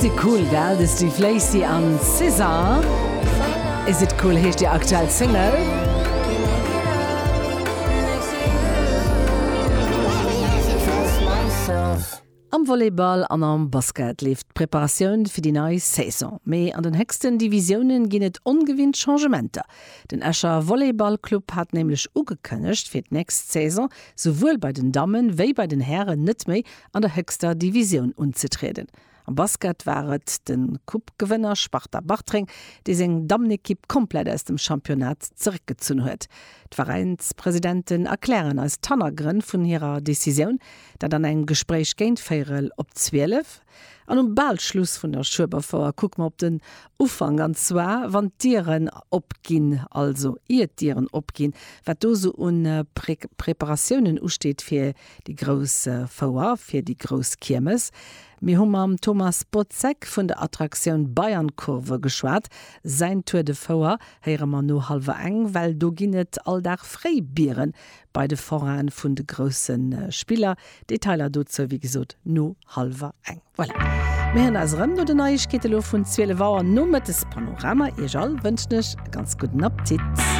Is it cool, gell? De Steve Lacy an SZA. Is it cool heescht déi aktuell Single. Am Volleyball an am Basket leeft d'Preparatioun fir déi nei Saison. Mee an den héchsten Divisiounen ginn et ongewinnt Changementer. Den Escher Volleyballclub hat nämlech ugekënnegt, fir d'nächst Saison souwuel bei den Dammen wéi bei den Hären net méi an der héchster Divisioun unzetrieden. Am Basket war et de Coupe-Gewënner Sparta Bartreng, dee seng Dammenekipp komplett aus dem Championnat zeréckgezunn huet. D'Veräinspresidenten erklären eis d'Hannergrënn vun hirer Decisioun, dat an engem Gespréich géint véierel op 12. An um bal Schluss vun der Schueberfouer kucke mer op den Ufank, an zwar wann d'Dieren opginn, also ier d'Dieren opginn, wat do sou un Preparatiounen usteet fir déi grouss Fouer, fir déi grouss Kiermes. Mir hu mam Thomas Bozek vun der Attraktioun Bayernkurve geschwat. Säin Tour de Fouer héiere mer no hallwer eng, well do ginn et all Dag fréi Biere bei de Foraine vun de grousse Spiller. Detailer dozou wéi gesot no hallwer eng. Voilà, mir héieren eis erëm no den Neiegkeete lo vun 12 Auer. Nomëttes Panorama. Iech all wënschen ech e ganz gudden Appetit.